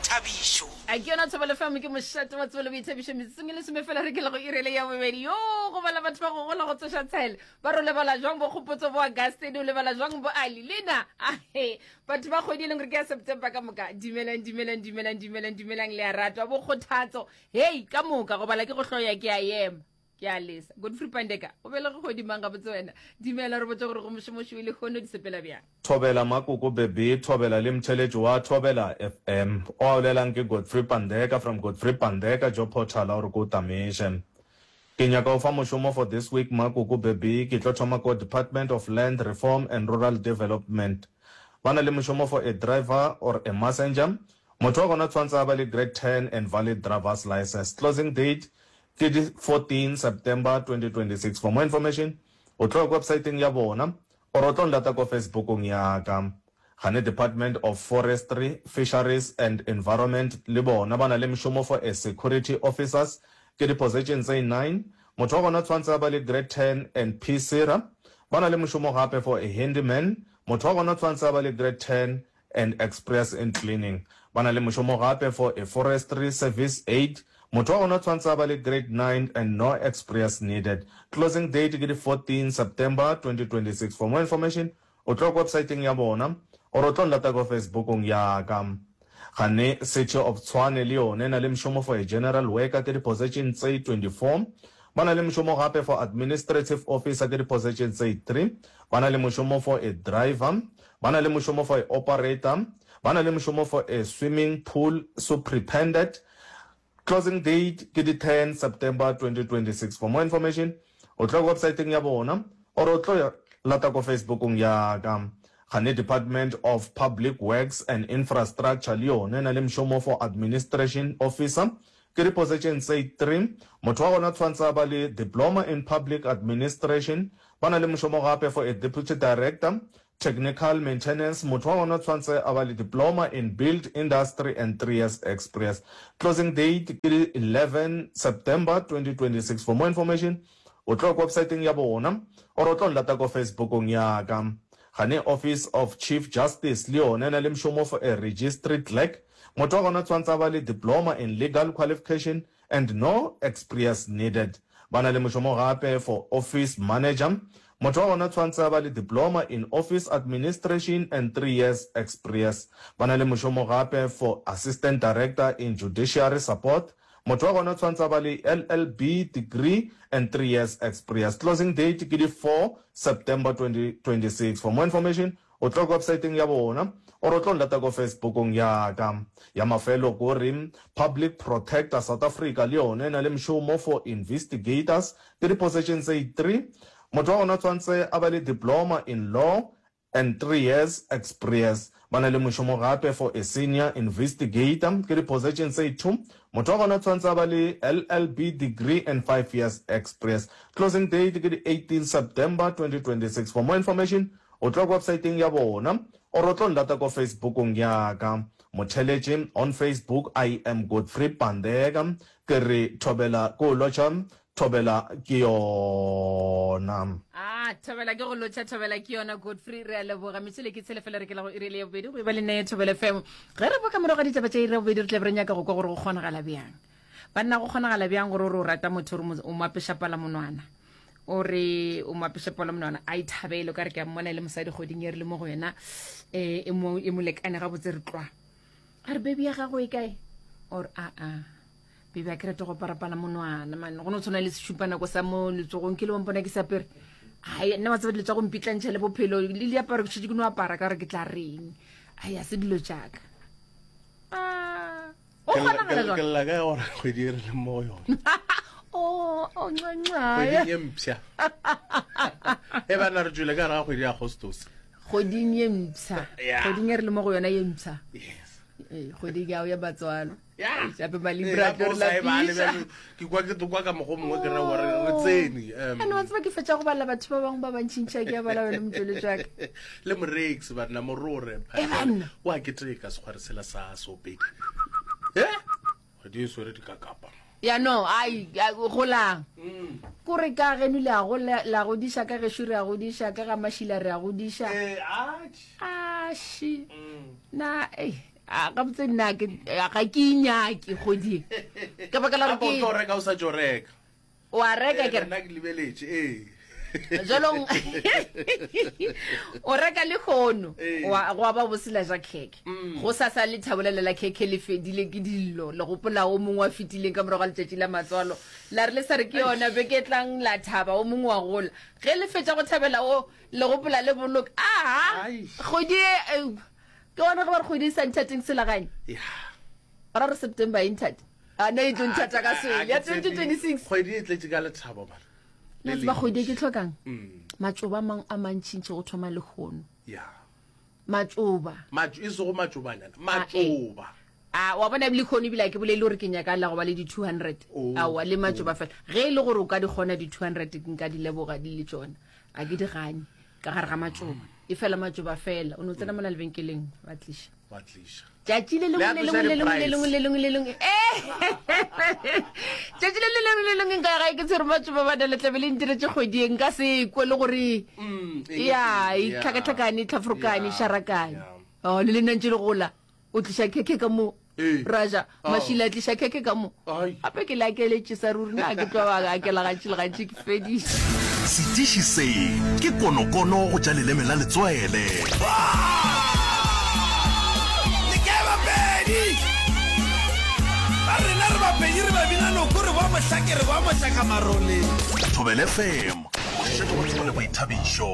boithabišo. A ke yona Thobela FM ke mošate wa tsebo le boithabišo metsotsong e lesome fela re ke le go irele ya bobedi yo go bala batho ba go gola go tsoša tshele ba re o lebala jwang bo kgopotso bo Augustine o lebala jwang bo Ali lena ahe batho ba kgwedi e leng gore ke ya September ka moka dumelang dumelang dumelang dumelang dumelang le a ratwa bo kgothatso hei ka moka go bala ke go hloya ke a ema Ke a lesa. Godfrey Pandeka, o belege kgwedi mang gabotse wena? Dumela, re botše gore go mošomoši o lehono di sepela bjang. Thobela Makoko Beby, Thobela le mtheletši wa Thobela FM. O a bolelang ke Godfrey Pandeka from Godfrey Pandeka Job Portal a o re ko tameše. Ke nyaka o fa mošomo for this week Makoko Beby, ke tlo thoma ko Department of Land Reform and Rural Development. Ba na le mošomo for a driver or a messenger. Motho wa gona tshwantse a ba le grade 10 and valid driver's license. Closing date Ke di 14 September 2026. For more information, o tlo ya ko websiteng ya bona or o tlo nlata ko Facebookong ya ka. Gane Department of Forestry, Fisheries and Environment le bona ba na le mšomo for a security officers, ke di position tse nine. Motho wa gona tshwantse a ba le grade 10 and PSIRA. Ba na le mošomo gape for a handyman, motho wa gona tshwantse a ba le grade 10 and express in cleaning. Ba na le mošomo gape for a forestry service aide. Motho wa gona tshwantse a ba le grade 9 and no exprience needed. Closing date ke di 14 September 2026. For more information o tlo ko websiteng ya bona or o tlo nlata ko Facebookong ya ka. Gane City of Tshwane le yone e na le mošomo for a general worker ke di position tse 24. Ba na le mošomo gape for administrative officer ke di position tse 3. Ba na le mošomo for a driver. Ba na le mošomo for a operator. Ba na le mošomo for a swimming pool superintendent. Closing date ke di 10 September 2026. For more information, o tlo ya websiteng ya bona or o tlo lata ko Facebookong ya ka. Gane Department of Public Works and Infrastructure le yona e na le mošomo for administration officer. Ke di position tse 3. Motho wa gona tshwantse a ba le diploma in public administration. Ba na le mošomo gape for a deputy director Technical maintenance, motho wa gona o tshwantse a ba le diploma in build industry and 3 years experience. Closing date ke di 11 September 2026. For more information, o tlo ko websiteng ya bona or o tlo nlata ko Facebookong ya ka. Gane Office of Chief Justice le yona e na le mošomo for a registry clerk. Motho wa gona o tshwantse a ba le diploma in legal qualification and no exprience needed. Ba na le mošomo gape for office manager. Motho wa gona tshwantse a ba le diploma in office administration and 3 years exprience. Ba na le mošomo gape for assistant director in judiciary support. Motho wa gona tshwantse a ba le LLB degree and 3 years exprience. Closing date ke di 4 September 2026. For more information, O tlo ko websaeteng ya bona or o tlo nlata ko Facebookong ya ka. Ya mafelo ko re Public Protector South Africa le yone e na le mšomo for investigators ke di position tse 3. Motho wa gona tshwantse a ba le diploma in law and 3 years exprience. Ba na le mošomo gape for a senior investigator ke di position tse 2. Motho wa gona tshwantse a ba le LLB degree and 5 years exprience. Closing date ke di 18 September 2026. For more information O tlo websaeteng ya bona or o tlo nlata ko Facebookong ya ka. Motheletše on Facebook I am Godfrey Pandeka. Ke re thobela ke o lotšha, thobela ke yona. Ah, thobela ke go lotšha, thobela ke yona Godfrey. Re a leboga. Metšhele ke tshele fela re ke la go iri le ya bobedi go e ba le neye Thobela FM. Ge re boka morago ga ditaba tša iri ya bobedi re tla be re nyaka go kwa gore go kgonagala bjang. Banna go kgonagala bjang gore o re o rata motho o re o mo apeša palamonwana. O re o mo apeša palamonwana a ithabele o ka re ke a mmona e le mosadi kgweding e re le mo go yena eh, e mo e mo lekane gabotse re tlwa. A re baby ya gago e kae? Or a a baby a ke rate go apara palamonwana man go no tshwana le sešupanako sa mo letsogong ke le wa mpona ke sa apere. Ai nna wa tseba dilo tsa go mpitlantšha le bophelo le diaparo ke šetše ke no apara ka gore ke tla reng. Ai a se dilo tšaka. Ah O kgonagala jwang? Ke lla ka gore kgwedi e re leng mo go yone. Oh, oh, nxa, nxa. Kgweding ye mpsha. E bana re tšwele ka gare ga kgwedi ya Agostose. Kgweding ye mpsha. Yeah. Kgweding e re le mo go yona ye mpsha. Yes. Ee, kgweding ya ya matswalo. Yeah. Gape Malibra Ee, tlo re gape o sa e bale lapiša. bjalo, Ke kwa ke kwa ka mokgwa o mongwe ke ra gore re tsene. um, Ane wa tseba ke fetša go bala batho ba bangwe ba bantšintši a ke a bala wena motšweletši wa ka. Le morex banna morore. E banna. Wa keteka sekgware sela sa sopedi. Eh? Kgwedi e swere dikakapa. Ya no, ai, ai, golang. Kore ka geno le a gola, la godiša ka gešo re a godiša, ka ga Mašila re a godiša. Eh, atjhe. Aši. Na, ei. A gabotse nna ke ga ke inyake kgwedi e. Ka baka la gore Gape o ke tlo reka o sa tšo reka. O a reka Eh, ke re. Nna ke lebeletše, ee. Jwalong o reka lehono Ee. wa gwa ba bosela ja khekhe. Go sasa lethabo lele la khekhe le fedile ke dillo. Le gopola o mongwe wa fetileng ka morago ga letšatši la matswalo. La re le sa re ke yona beke e tlang la thaba o mongwe wa gola. Ge le fetša go thabela o le gopola le boloka. Aha! Ai. Kgwedi e eh, ke gona ge ba re kgwedi e sa nthateng selaganye. Ya. Ba ra re September e nthate. A no e tlo nthata ka A- a- swele a ya ke tshepe 2026. Kgwedi e tletše ka lethabo bana. Le Le tseba kgwedi e ke lentši. hlokang? Mm. Matšoba a mang a mantšintši go thoma lehono. Ya. Matšoba. Matšo e sego matšobanyana, A, eh. matšoba. A wa bona ebile lehono ebile a ke bolele gore ke nyaka la go ba le di 200. Oh, Aowa le matšoba oh. fela. Ge e le gore o ka di kgona di 200 nka di leboga di le tšona. A ke di gane ka gare ga matšoba. E fela matšoba fela. O no tsena mola lebenkeleng wa tliša. Wa tliša. Tšatši le lengwe le lengwe le lengwe le lengwe le lengwe le lengwe. Eh! Tšatši le le lengwe le lengwe nka ya gae ke tshwere matšoba bana le tlabe le ntiretše kgwedi e nka se kwe le gore Mm, e ya e ya. tlhakatlhakane e tlhafrokane e Ya, šarakane. ya. Oh, le lena ntše le gola. O tliša khekhe ka mo. Ee. Raja, Oh. Mašila a tliša khekhe ka mo. Ai. Gape ke le akeletše sa ruri na ke tlo ba akela gantši le gantši ke fediše. Setiši se ke konokono go tša leleme la letswele. Le kae Bapedi? Ba rena re Bapedi re babina noko re boa mohlake re boa mohlaka marole. Thobela FM, mošate wa tsebo le boithabišo.